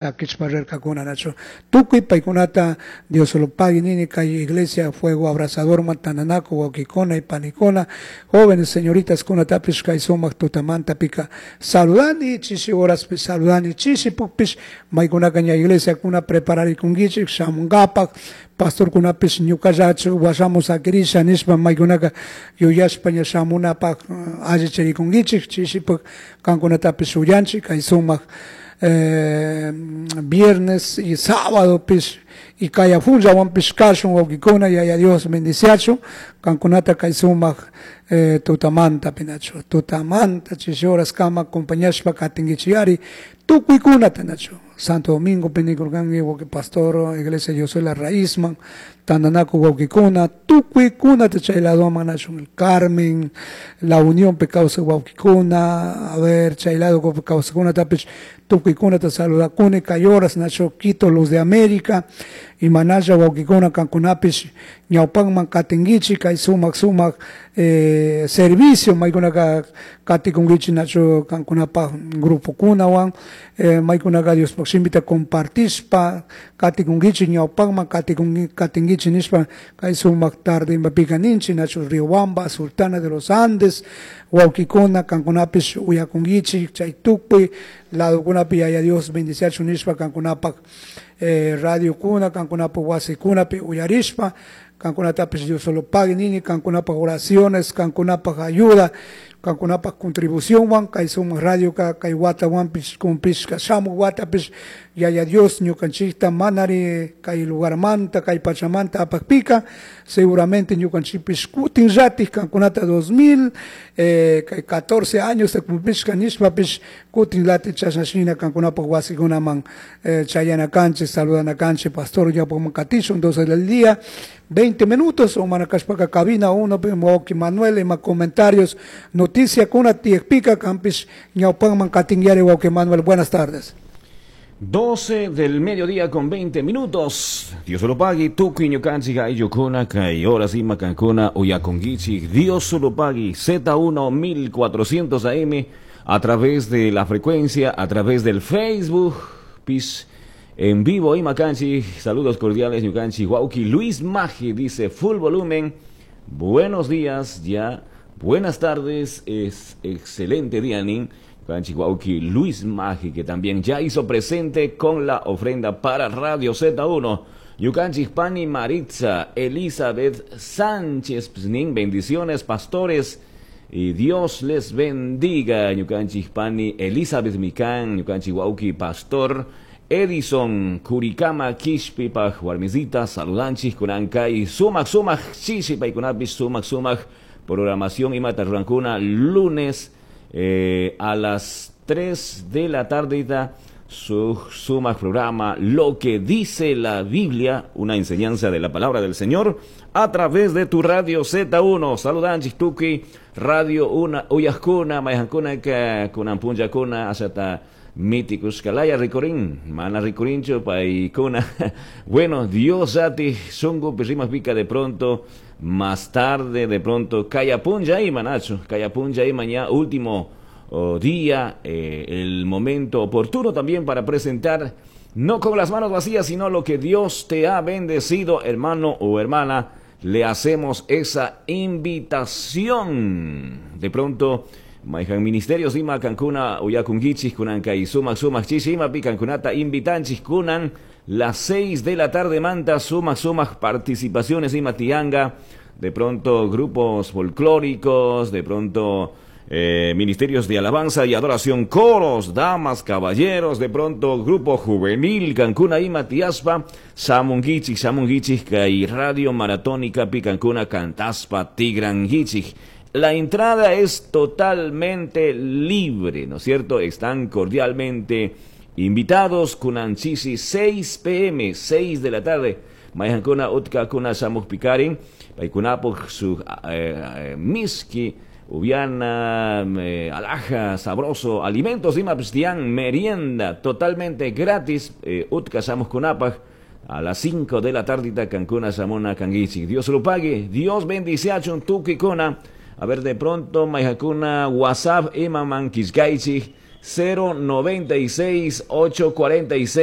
Saquishpa rircacuna, nachu? Tucui paicunata Dios lo pagui nini. Kay iglesia Fuego Abrasadorman tandanacu huauquicuna y panicuna, jóvenes, señoritas kunatapish kay sumak tutamantapika saludani, chishi horaspi saludani, chishi pukpish maykunaka ña iglesiakuna prepararikunkichik shamunkapak, pastorkunapish ñukallachu washamu saquirisha nishpa maykunaka yuyashpa ña shamunapak allichirikunkichik. Chishipak kankunatapish uyanchik kay sumak viernes y sábado pish y kaya punllawanpish kashun. Wawkikuna, Yaya Dios bendiciachun kankunata kay sumak tutamanta pinachu, tutamanta chishi horas kama acompañashpa katinkichiyari tukuykunata, nachu? Santo Domingo pinikurkanki, wawki pastor, iglesia Yo Soy la Raízman tandanaku wawkikuna, tukuykunata chay ladoman, nachu? El Carmen, La Unión pe kawsak wawkikuna, a ver, chay lado kawsakunatapish tukuykunata saludakuni kay horas, nachu? Quito, Luz de América, imanalla wawkikuna, kankunapish ñawpakman katinkichik kay sumak sumak servicio maykunaka katikunkichik, nachu? Kankunapak grupokunawan maykunaka Diospuk shimita compartishpa katikunkichik, ñawpakman katinkichik nishpa kay sumak tarde imapika ninchik, nachu? Riobamba, Sultana de los Andes wawkikuna, kankunapish uyakunkichik chay tukuy ladokunapi. Yaya Dios bendiciachun nishpa kankunapak radiokuna, kankunapak wasikunapi uyarishpa kankunatapish Dios solo pague nini. Kankunapak oraciones, kankunapak ayuda, kankunapak contribucionwan kay sumak radioka kay watawanpish cumplishka. Shamuk watapish Yaya Dios ñukanchikta manari kay lugarmanta, kay pachamanta apakpika, seguramente ñukanchikpish kutinllatik kankunata 2000 kay 14 años cumplishka nishpapish kutinllatik chashna shina kankunapak wasikunaman chayana kanchik, saludana kanchik. Pastor, ñawpakman katishun, 12 del día, 20 minutos, o mana kashpaka cabina 1 wawki Manuel ima comentarios, noticiakuna tiyakpika kanpish ñawpakman katinyari, wawki Manuel. Buenas tardes. 12 del mediodía con 20 minutos. Dios lo pague. Tukuy ñukanchik ayllukuna kay horas ima kankuna uyakunkichik. Dios lo pague. Z1 1400 AM a través de la frecuencia, a través del Facebook. Pis en vivo ima kanchik. Saludos cordiales ñukanchik wawki Luis Magi dice full volumen. Buenos días ya. Buenas tardes. Es excelente día, nin. Wawki Luis Magi, que también ya hizo presente con la ofrenda para Radio Z1. Ñukanchik pani Maritza Elizabeth Sánchez Psnin, bendiciones, pastores, y Dios les bendiga. Ñukanchik pani Elizabeth Mikan, ñukanchik wawki pastor Edison Kurikama Kishpipaj warmisita, saludanchik kunankay sumak sumak chishi paykunapis sumak sumak programación imata rurankuna lunes a las 3 de la tarde su sumak programa Lo que dice la Biblia, una enseñanza de la palabra del Señor a través de tu radio Z1. Saludanchik tukuy radio una uyajkuna mayjankuna kunan punllakuna ashata mitikushkalaya rikurin mana rikurinchu paykuna. Bueno, Dios ati shunku pica de pronto más tarde, de pronto kaya punlla ima, nachu? Kaya punlla ima ña último día, el momento oportuno también para presentar, no con las manos vacías, sino lo que Dios te ha bendecido, hermano o hermana. Le hacemos esa invitación. De pronto mayjan ministerios ima kankuna uyakunkichik kunan kay sumak sumak chishi imapi kankunata invitanchik kunan las 6 de la tarde manta sumak sumak participaciones ima tianga, de pronto grupos folclóricos, de pronto ministerios de alabanza y adoración, coros, damas, caballeros, de pronto grupo juvenil, kankuna ima tiaspa, shamunkichik, shamunkichik, kay radio maratónica pi kankuna cantaspa tigrankichik. La entrada es totalmente libre, ¿no es cierto? Están cordialmente invitados. Kunan chishi 6 pm, 6 de la tarde. Mayjankuna utka kuna shamuj pikarin, paykunapuk su miski, upiana, alhaja, sabroso, alimentos ima pstian, merienda totalmente gratis, utka shamuj a las 5 de la tardita kankuna shamuna kankichik. Dios lo pague, Dios bendiciachun tukikuna. A ver, de pronto, mayjankuna, WhatsApp, imaman killkaychik. 096 846.